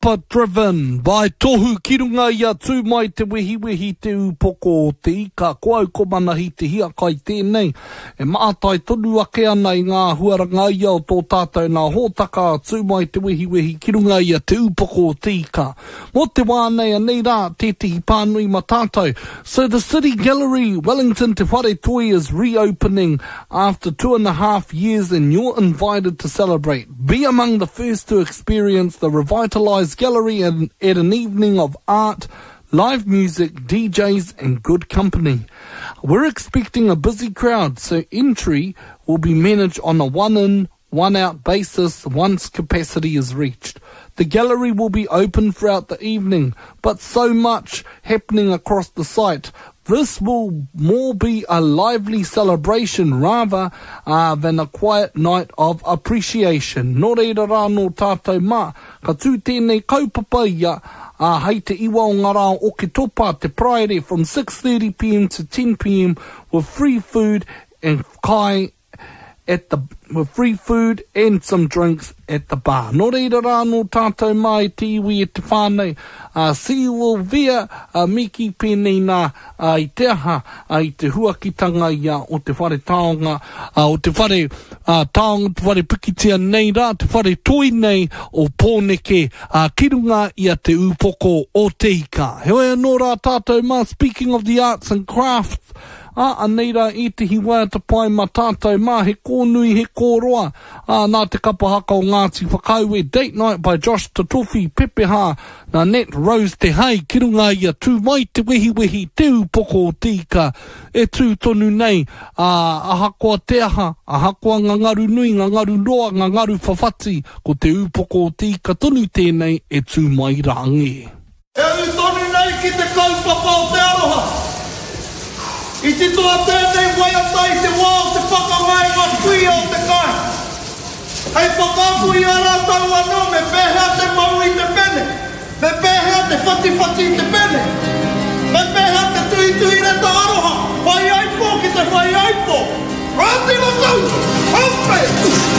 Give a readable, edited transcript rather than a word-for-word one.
But driven by Tohu ki runga i a Tū Mai Te Wehiwehi Te Ūpoko o Te Ika. Ko au ko Manahi Te Hiakai tēnei e mātai tonu ake ana i ngā huaranga ia o tō tātou nā hōtaka a Tū Mai Te Wehiwehi ki runga i a Te Ūpoko o Te Ika. Mō te wā nei anei rā tētehi pānui ma tātou. So the City Gallery, Wellington Te Whare Toi is reopening after 2.5 years and you're invited to celebrate. Be among the first to experience the revitalised gallery and, at an evening of art, live music, DJs and good company. We're expecting a busy crowd, so entry will be managed on a one-in, one-out basis once capacity is reached. The gallery will be open throughout the evening, but so much happening across the site. This will more be a lively celebration rather uh, than a quiet night of appreciation. Nō reira rā nō tātou mā, ka tū tēnei kaupapa ia, ā, hei te iwa o ngā rā o Oketopa, te Paraire, from 6.30pm to 10pm with free food and kai at the with free food and some drinks at the bar. Nō reira rā nō tātou mā e te iwi e te whānau, uh, see you all there, uh, miki pēnei nā uh, i te aha, uh, i te huakitanga ia o te whare taonga, uh, o te whare uh, taonga, te whare pikitia nei rā, te whare toi nei o Pōneke, uh, ki runga i a Te Ūpoko o Te Ika. Heoi anō rā tātou mā, speaking of the arts and crafts, Ā, anei rā ētehi waiata pai mā tātou mā, he kōnui, he kōroa, ā, nā te kapa haka o Ngāti Whakaue, Date Night by Josh Tatofi, Pepeha, nā Nat Rose Te Hai, ki runga i a Tū Mai Te Wehiwehi, Te Ūpoko o Te Ika, e tū tonu nei, ā, ahakoa te aha, ahakoa ngā ngaru nui, ngā ngaru roa, ngā ngaru whawhati, ko Te Ūpoko o Te Ika tonu tēnei e tū mai rā ngē. E ū tonu nei ki te kaupapa o te aroha. I titoa tēnei waiata i te wā o te pakanga e ngā kuia o te kāinga. Hei whakaako i a rātou anō me pēhea te mau i te pene, me pēhea te whatiwhati i te pene, me pēhea te tuhituhi reta aroha, whaiaipo ki te whaiaipo. Rātino kau! Hape!